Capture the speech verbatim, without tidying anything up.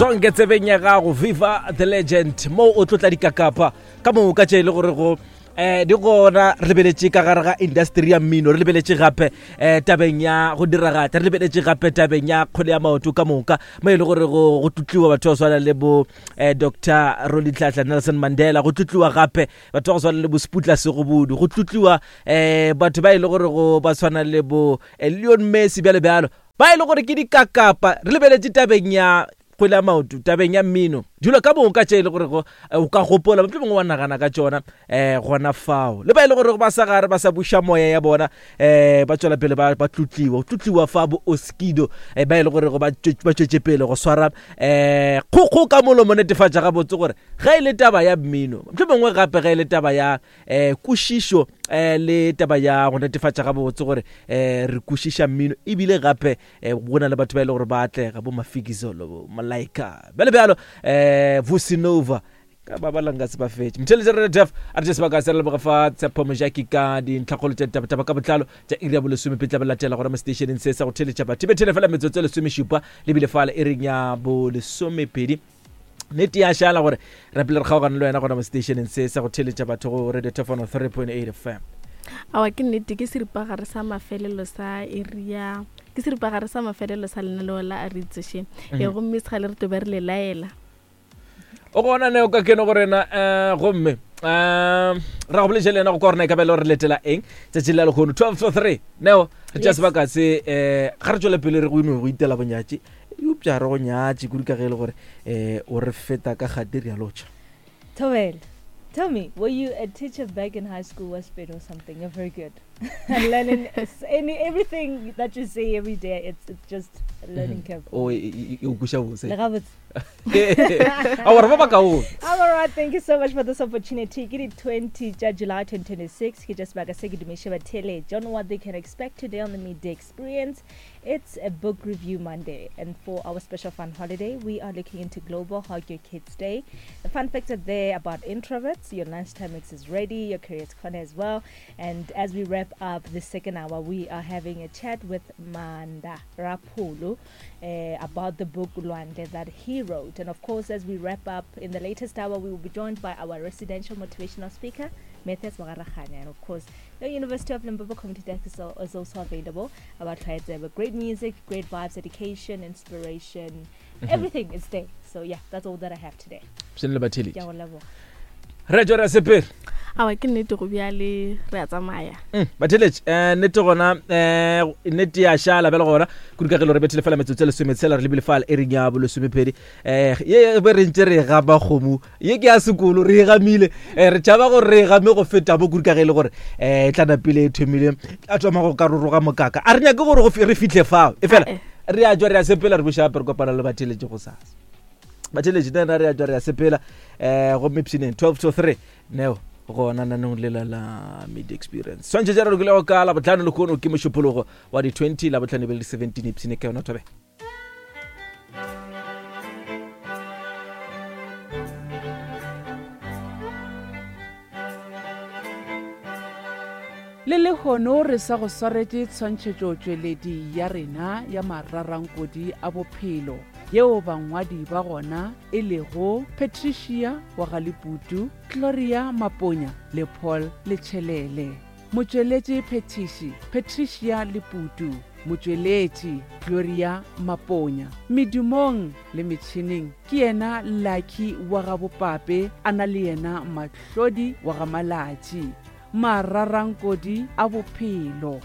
Zonke tsebeng ya gago, Viva the Legend, mo o tlotla dikakapa ka moka tše e le gore go eh di gona. Re lebeletše ka gare ga industry ya mmino, re lebeletše gape eh tabeng ya go diragatša, re lebeletše gape tabeng ya kgwele ya maoto ka moka, mo e le gore go go tlotliwa batho ba swana le bo eh, Doctor Rolihlahla Nelson Mandela, go tlotliwa gape batho ba go swana le bo Sputla Segobodu, go tlotliwa eh batho ba e le gore go ba tshwana le bo eh, Leon Messi, bjalo bjalo, ba e le gore ke dikakapa. Re lebeletše tabeng ya kgwele ya maoto, tabeng ya mmino, dilo ka moka tše e le gore go o ka gopola mohlomongwe mongwe wa nagana ka tšona um gona fao, le ba e le gore ba sa gare ba sa buša moya ya bona, um ba tswela pele ba tlotliwa, go tlotliwa fa bo Oskido, um ba e le gore ba tšwetše pele go swara um kgokgo ka molomo, netefatša gabotse gore ge e le taba ya mmino, mohlomongwe gape ge e le taba ya um kwešišo, um le taba ya go netefatša gabotse gore um re kwešiša mmino, ebile gape um go na le batho ba e le gore ba atlega, bo Mafikizolo, bo Malaika, bjalo bjalo, um Vusinova ka ba balanga se ba fetše mtheletše re def a re sebaka se re leboga fa Tshepo Mojaki ka dintlhakgolo tša ditabataba ka botlalo tša iri ya bolesomepedi tla ba latela gona mo stationeng se sa go theletša batho bethele fela metsotso e lesomešupa lebile fale e reng ya bolesomepedi. Nnete ya šala gore re pele re kgaogane le wena gona mo stationeng se sa go theletša batho go Radio Tofono three point eight F M. Awa ke nnete, ke seripagare sa mafelelo sa area, ke seripagare sa mafelelo sa lenaneo la a re itsošeng. E gomme segale re tlo be re le laela. O gona neo ka keno go rena, eh, gomme, eh, ra go boletše le yena go kwa rena e ka ba e le gore re letela eng tšatši la lehono twelve to three. Neo, re tšea Yes. sebaka se, eh, ga re tšwele pele re go ino go itela bonyatši, eupša re go nyatše kudu ka ge e le gore, eh, o re feta ka gate re a lotšha. Thobela, tell me, were you a teacher back in high school, was or something? You're very good. And learning any, everything that you say every day, it's, it's just a learning Mm-hmm. curve. Oh, e, e, e, o kweša bose. Le gabotse. Aowa, re ba bakaone. I'm all right, thank you so much for this opportunity. Ke di twenty tša July twenty twenty-six, ke just sebaka se ke dumiše batheeletši on what they can expect today on the Midday Experience. It's a book review Monday, and for our special fun holiday, we are looking into Global Hug Your Kids Day. The fun facts are there about introverts, your lunchtime mix is ready, your careers corner as well. And as we wrap up the second hour, we are having a chat with Manda Rapulu, uh, about the book Lwandle that he wrote. And of course, as we wrap up in the latest hour, we will be joined by our residential motivational speaker, Matthias Mogaragane. And of course, the University of Limpopo Community Desk is, al-, is also available. About Tlaetsebe. Great music, great vibes, education, inspiration, Mm-hmm. everything is there. So yeah, that's all that I have today. Psene le batheletši. Ke a go leboga. Re tšwa re a sepela. Aowa, ke nnete go bjale re a tsamaya. Mm, batheletši, eh, nnete gona, eh, nnete ya šala bjale gona, kudu ka ge le re bethile fela metsotso e lesometshela, re lebile fale e reng ya bolesomepedi. Eh, ye be re ntše re e gama kgomo, ye ke ya sekolo, re e gamile. Eh, re tšhaba gore re e game go feta mo, kudu ka ge e le gore, eh, e tla napile e thomile, a thoma go karoroga mokaka. A re nyake gore go fi-, re fihle fao. E fela, Ah, eh. re a tšwa re a sepela, re buša gape re kopana le batheletši gosasa. Batheletši, nna re a tšwa re a sepela, eh, gomme pshineng twelve to three, neo gona nanong lela la Media Experience. Swantšhe tša re lokilego ka Labohlano lehono ke mošupologo wa di twenty, Labohlano e be le di seventeen, ipshine ka yona Thobela. Le lehono re sa go swaretše tshwantšhetšotšweledi ya rena ya mararankodi a bophelo, yeo bangwadi ba gona e lego Patricia wa Galeputu, Gloria Maponya le Paul Letšhelele. Motšweletši phethiši Patricia Leputu, motšweletši Gloria Maponya. Medumong le metšhineng ke yena Lucky wa ga Bopape, a na le yena Mahlodi wa ga Malatši. Mararankodi a bophelo.